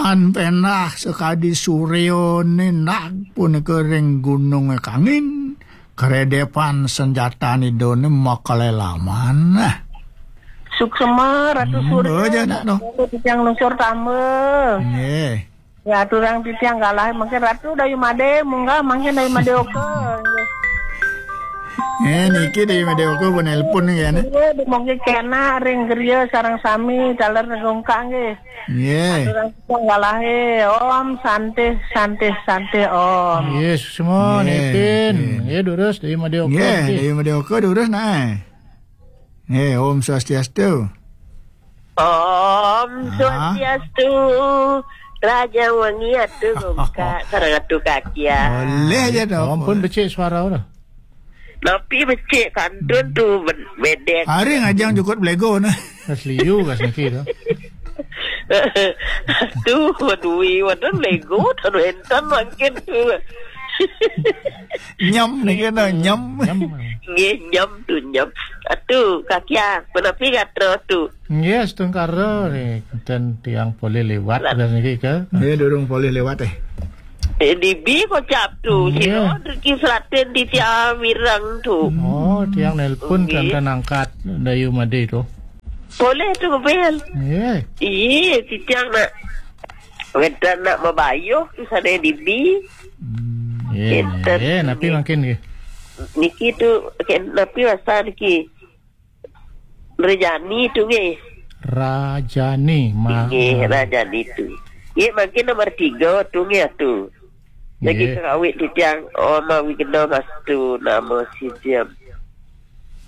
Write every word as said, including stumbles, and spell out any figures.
An penah sakadi suryané nagpunika ring gunungé kangin, karedepan sanjatan Idané makalelaman. Nah. Suksema, Ratu Hmm, Surya. Aja nak, noh. Titiang lungsur tamba. Nggih. Ya, aturang titiang galah, mangkin Ratu Dayu Madé, munggah, mangkin Dayu Madé oka. Nggih. Eh, niki Dayu Madé oka pun nelpon nggih, anak. Iya, dumogi kena ring griya sareng sami, taler negungkak nggih. Nggih. Aturang titiang galahe, Om Santih, Santih, Santih, Om. Nggih, suksma, Nggih, nipin. nggih. Nggih, durus, Dayu Madé oka, Nggih, nggih. Dayu Madé oka, durus, nah. Nggih, Om Swastiastu. Om Ah. Swastiastu. Raja Wangi atu gumka sareng atu kakia. Boleh aja dong. Ampun becik suara ora. Napi becik kantun tu ben-, bedek. Hari ngajang jukut belego nah. Kas liu kas niki tu. Tu, wadui, wadan lego, tan entan mangkin tu. Nyam niki nah, nyam. Nyam. Nggih, nyam tu, nyam. Atu, kakia, punapi gatra tu. Nggih, astungkara nih, ten tiang polih liwat Rat. Gas niki ke. Nggih, durung polih liwat, eh. Eh, dibi kocap tu, Nggih. Sira Riki Selatin di tiang mirang tu. Oh, tiang nelpon Nggih. Ten angkat Dayu Madé tu. Boleh tu, Bel. Nggih. Iya, titiang nak. Wedan nak mabayuh tu sana dibi. Hmm. Nggih, Enten. Nggih, napi mangkin nggih? Niki tu, ken-, napi wasta niki? Rajani tu nggih. Rajani, ma-, Nggih, ma- Rajani tu. Nggih, mangkin nomor tiga tu nggih atu. Lagi Nggih. Kerawit titiang, Oma Wigna Mastu, nama si Jam.